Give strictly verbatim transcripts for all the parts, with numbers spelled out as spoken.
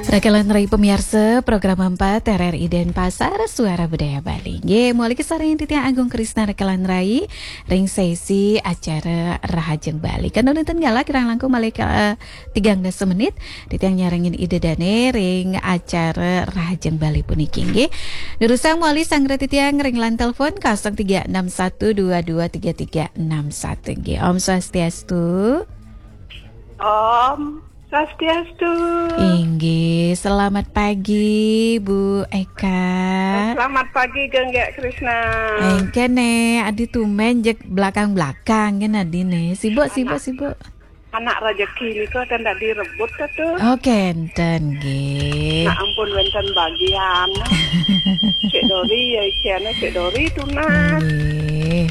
Rekan rai pamiarsa program empat R R I Denpasar, Suara Budaya Bali. Nggih, malih kasarengin titiang Agung Krisna rekan rai ring sesi acara Rahajeng Bali. Kan wénten galah kirang langkung malih ka, eh, tigang dasa menit, titiang nyarengin ida dané ring acara Rahajeng Bali puniki nggih. Durusang malih sanggra titiang ring line telepon kosong tiga enam satu dua dua tiga tiga enam satu nggih. Om Swastiastu. Om Swastiastu. Inggih, selamat pagi Bu Eka. Selamat pagi Gék Krisna. Engkén né, adi tumben jeg belakang-belakang kan adi né. Sibuk, sibuk, sibuk. Anak rejeki nika ten dak direbut ta tu. Oh, kénten nggih. Nah, ampun wénten bagian. Cék Dori ya isiannya Cék Dori tunas. Nggih.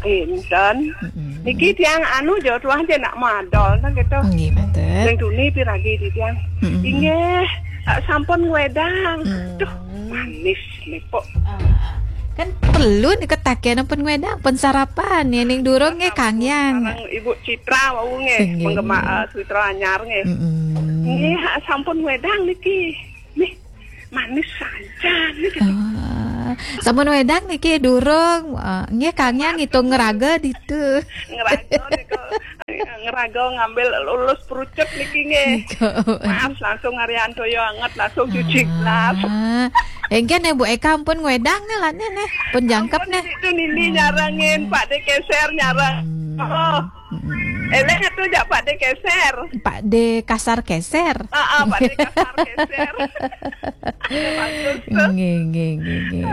Kénten. Mm-mm. Niki tiang anu jauh tuah aja nak madol nang gitu. Nggih, betul. Yang tuni piragi di tiang. Mm-mm. Inggih, ah, sampun ngwedang. Mm. Duh, manis nih kok. Ah, kan perlu nih ketagihan pun ngwedang, pun sarapan ya ning durung nggih Kang Yang. Sareng Ibu Citra wau nggih, nggih, penggemar, nggih, eh, Citra Anyar nggih. Mm-mm. Nggih, ah, sampun ngwedang niki. Nih, manis saja nih gitu. Ah, sampun wedang niki durung, ah, nggih Kang Yang ngitung ngeraga ditu. Ngeraga niku. Ngeraga ngambil lulus perucut niki nggih. Niku. Maaf langsung Arianto yo anget langsung cuci gelas. Ah. Engkén né Bu Eka ampun ngwedang né lah né, né. Pun jangkep né. Ampun, itu Nini nyarengin, Pak De Keser nyareng. Hmm. Oh. Mm-mm. Eling atuh jak Pak De Keser. Pak De Kasar Keser. Ah, ah, Pak De Kasar Keser. Ada bagus tuh. Nggih, nggih, nggih, nggih.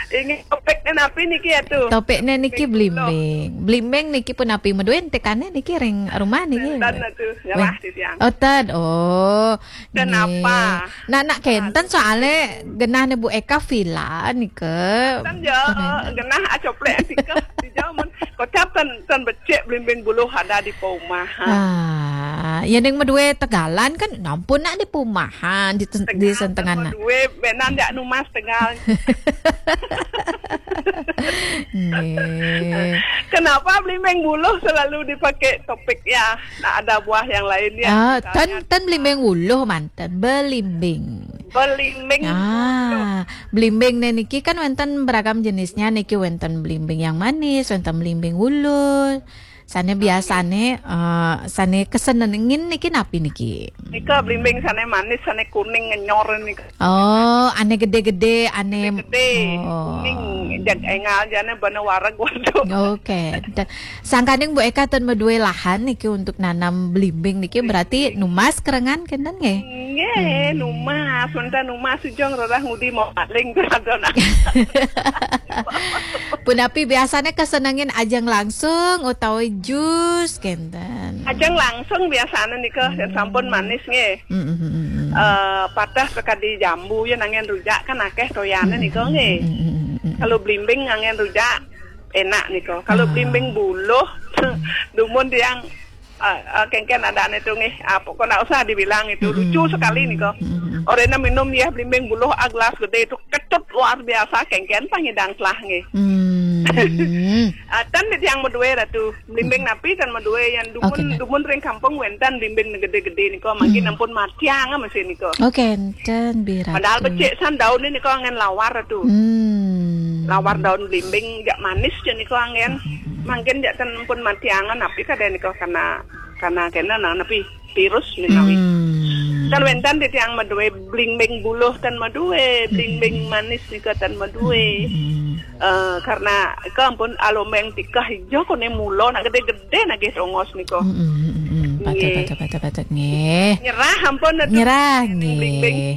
Ini topiknya napi niki atuh? Topiknya niki blimbing. Blimbing niki punapi, medué tekané niki ring rumah niki? Ten atuh, nyerah. Wéh. Di tiang. Oh, ten. Oh. Kenapa? Nggih. Nah, nak kénten soalnya genah né Bu Eka villa nika. Ten ya, genah acoplek tika di jaman. Kocap ten, ten becik blimbing buluh ada di perumahan. Ah, ya ning medué tegalan kan nampun nak di perumahan, di ten-, di sentengan nak. Medué benan jak numas tegal. Nggih. Kenapa blimbing buluh selalu dipakai topik ya? Nah, ada buah yang lain ya. Ah, misalnya ten, ten blimbing buluh manten, belimbing. Belimbing. Ah, belimbing né niki kan wénten beragam jenisnya niki, wénten belimbing yang manis, wénten belimbing buluh. Sané biasané, eh, sané kesenengin niki napi niki? Nika blimbing sané manis, sané kuning ngenyor nika. Oh, ané gedé-gedé, ané gedé, oh, kuning, jag énggal jana bana wareg waduh. Oké. Da-, sangkaning Bu Eka ten medué lahan niki untuk nanam blimbing niki, berarti numas kerengan kénten nggih? Nggih, numas, menta numas ujung rerah ngudi mau paling beradon. Punapi biasané kesenengin ajeng langsung utawi jus kénten? Ajeng langsung biasané nika, dan sampun manis nggih. Mm, mm, mm, mm. Eh, patah sekadi jambu ya nangén rujak kan akéh toyané nika nggih. Mm, mm, mm, mm. Kalau blimbing nangén rujak enak nika. Kalau blimbing buluh dumun tiang, eh, eh, kéngkén adané tuh nggih. Ah, pokoknya nggak usah dibilang itu. Mm, mm, lucu sekali nika. Mm, mm, mm. Orena minum ya blimbing buluh, ah, gelas gedé itu kecut luar biasa, kéngkén pangidang telah nggih. Hmm. Ah, ten di tiang medué ratu. Blimbing napi ten medué yang dumun, oké, nah, dumun ring kampung wénten blimbing gedé-gedé nika, mangkin ampun matiang masih nika. Oké, ten bira. Padahal becik san daun ini kok angin lawar tuh. Hmm. Lawar daun blimbing jak manis jen nika angin. Hmm. Mangkin jak ten ampun matiangan napi kadé nika karena, karena kena nah napi virus menawi. Hmm. Ten wénten di tiang medué blimbing buluh ten medué, blimbing manis nika ten medué. Hmm. Eh, karena ika ampun alombeng tikah ijo koné mula nak gedé-gedé nagih tongos nika. Mm, mm, mm, mm. Patut, nggih, patut, patut, patut, nggih. Nyerah ampun atuh. Nyerah, nggih.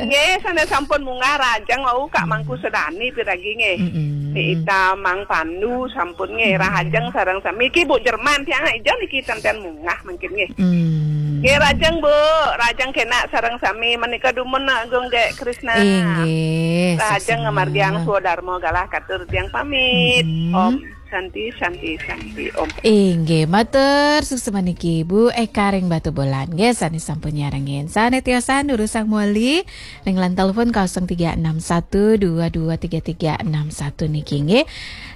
Nggih, sané sampun munggah Rahajeng wau Kak Mangku Sedani piragi nggih. Mm, mm. Ni Ita Mang Pandu sampun nggih, Rahajeng sareng sami. Iki Bu Jerman tiang ijo niki ten-ten munggah mangkin nggih. Hmm. Nggih, Rahajeng, Bu. Rahajeng kénak sareng sami menika dumun Agung Gék Krisna. Inggih, Rahajeng sesama. Ngamargiang swadarma galah katur tiang pamit. Hmm. Om. Santi, Santi, Santi, Om. Inggih, matur suksma niki Bu Eka ring Batubulan. Nggih, sane sampun nyarengin. Sane tiosan durusang moli ring line telepon kosong tiga enam satu dua dua tiga tiga enam satu niki nggih.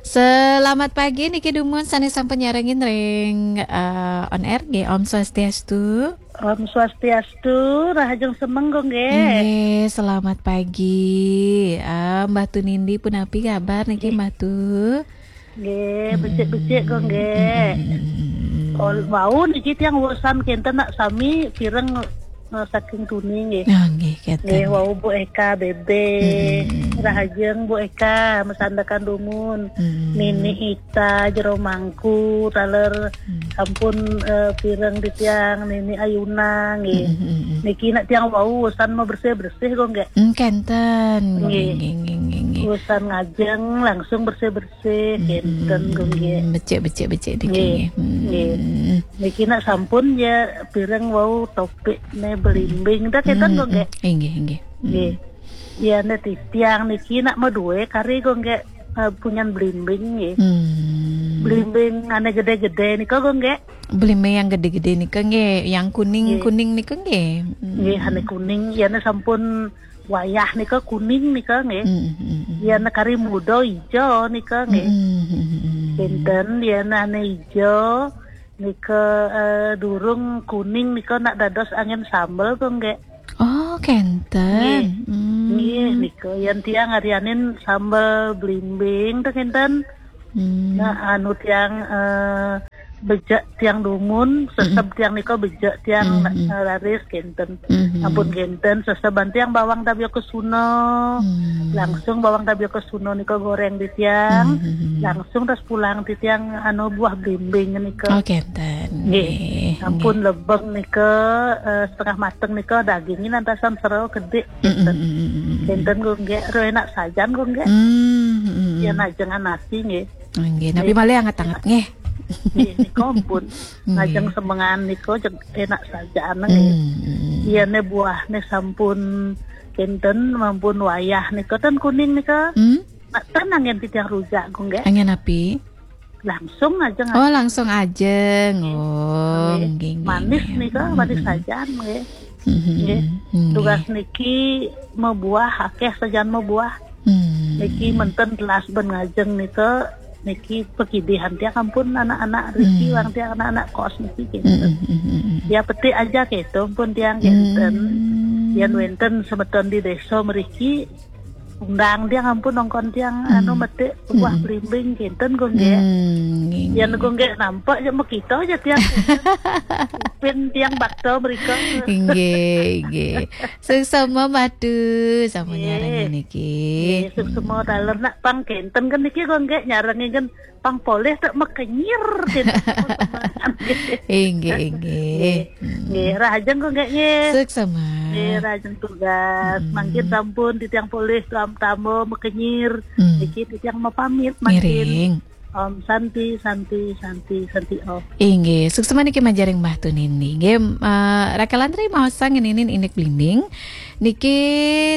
Selamat pagi niki dumun sane sampun nyarengin ring, eh, on air nggih. Om Swastiastu. Om Swastiastu, rahajeng semeng, Gung, nggih. Nggih, selamat pagi. Ah, Mbah Tu Nindi punapi kabar niki, Mbah Tu? Nggih, becik-becik, Gung, nggih. Mm, mm, mm, mm, mm. Ol-, wau niki tiang wusan kenten nak sami pireng, eh, saking tuni, nggih. Ah, nggih, kenten. Nggih, wau Bu Eka, Bebe. Mm, mm, mm, mm. Rahajeng Bu Eka, masandekan dumun. Mm. Nini Ita, Jero Mangku, taler Hmm. Sampun, eh, pireng titiang Nini Ayuna, nggih. Hmm, hmm, hmm, hmm. Niki nak tiang wau usan mau bersih-bersih kok, nggih. Hmm, kenten. Nggih. Nggih, nggih, nggih, nggih. Usan ngajeng langsung bersih-bersih, hmm, kenten, hmm, kok, nggih. Becik, becik, becik niki, nggih, nggih. Hmm. Nggih. Niki nak sampun ya pireng wau topik ne belimbing. Dah kenten, hmm, kok, nggih. Hmm. Nggih, nggih. Hmm. Nggih. Ya, ne titiang niki nak mau due kari kok, nggih. Eh, punyan belimbing, nggih. Hmm. Belimbing ane gede-gede nika, kok, nggih. Belimbing yang gede-gede nika nggih, yang kuning-kuning nika nggih. Hmm. Nggih, ane kuning, ya ne sampun wayah nika kuning nika nggih. Hmm, hmm, hmm. Ya ne kari muda ijo nika nggih. Hmm, hmm, hmm, hmm. Kenten, ya ne ane ijo nika, eh, durung kuning nika nak dados angin sambel kok nggih. Oh, kenten. Nggih. Hmm. Nggih, nika yan tiang arianin sambel belimbing to kenten. Hmm. Nah, anu tiang, eh, bejek tiang dumun, seseb, mm-mm, tiang nika bejek tiang, mm-mm, eh, raris kenten. Mm-mm. Ampun kenten, seseban tiang bawang tabia kesuna. Hmm. Langsung bawang tabia kesuna nika goreng di tiang. Hmm. Langsung tas pulang di tiang anu buah belimbing nika. Oh, kenten. Nggih. Nggih. Ampun nggih. Lebeng nika, eh, setengah mateng nika dagingnya nantasan sero kedik. Mm, kenten. Mm, mm, mm, mm, mm. Kenten kok nggih, ro enak sajan kok nggih. Mm, mm, mm. Ya najengan nasi nggih. Nggih, napi malih anget-anget nggih. Nggih, nika ampun. Nggih. Ngajeng semengan nika jeg-, enak sajan nggih. Mm, mm, mm. Iya ne buah ne sampun kenten, mampun wayah nika ten kuning nika. Mm. Nak ten angin titiang rujak kok nggih. Angin api? Langsung aja. Oh, langsung ajeng. Oh, nggih, nggih, nggih. Manis nika, manis sajan nggih. Mhm, nggih. Nggih. Tugas niki mabuah, akeh sajan mabuah. Hmm. Niki menten telas ben ngajeng nika, niki pekidihan tiang ampun anak-anak riki, hmm, wang tiang anak-anak kos niki, gitu. Hmm, hmm, hmm, hmm, hmm. Ya, petik aja gitu, ampun tiang kenten. Hmm. Yan wenten semeton di desa mriki, undang tiang ampun nongkon tiang, hmm, anu, metik buah, hmm, belimbing kenten kok nggih. Hmm, nggih, yan nggih. Kok nggih nampak aja mekita aja tiang. Pin tiang bakto mriko. Nggih, nggih. Suksma Mbah Tu, sampun nyarengin niki. Nggih, suksma taler nak pang kenten kan niki kok nggih nyarengin kan pang polih tak mekenyir kenten. Inggih, inggih. Nggih. Hmm. Nggih, rahajeng kok nggih nggih. Suksma. Nggih, rahajeng tugas. Hmm. Mangkin sampun titiang polih tam-, tamo mekenyir. Hmm. Niki titiang mau pamit mangkin. Ngiring. Om Santi, Santi, Santi, Santi Om. Inggih, suksma niki manjaring Mbah Tu Nindi. Nggih, eh, Raka Lantri maosang ngeninin indik blimbing. Niki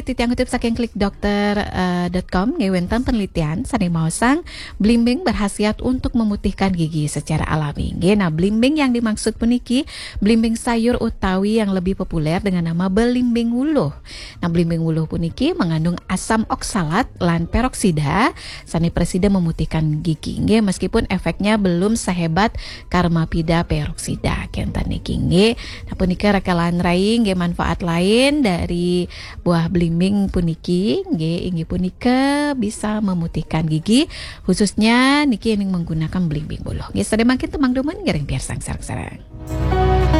titiang kutip saking klik dokter, eh, dot com, nggih wenten penelitian sane maosang blimbing berkhasiat untuk memutihkan gigi secara alami. Nggih, nah blimbing yang dimaksud puniki blimbing sayur utawi yang lebih populer dengan nama belimbing wuluh. Nah, blimbing wuluh puniki mengandung asam oksalat lan peroksida sane prasida memutihkan gigi. Nggih, meskipun efeknya belum sehebat karmapida peroksida kenten niki nggih. Nah, punika Raka lan Rai nggih manfaat lain dari buah blimbing puniki nggih inggih punika bisa memutihkan gigi, khususnya niki yang menggunakan blimbing wuluh. Nggih, sadaya mangkin tumang dumun ngiring piarsang sareng-sareng.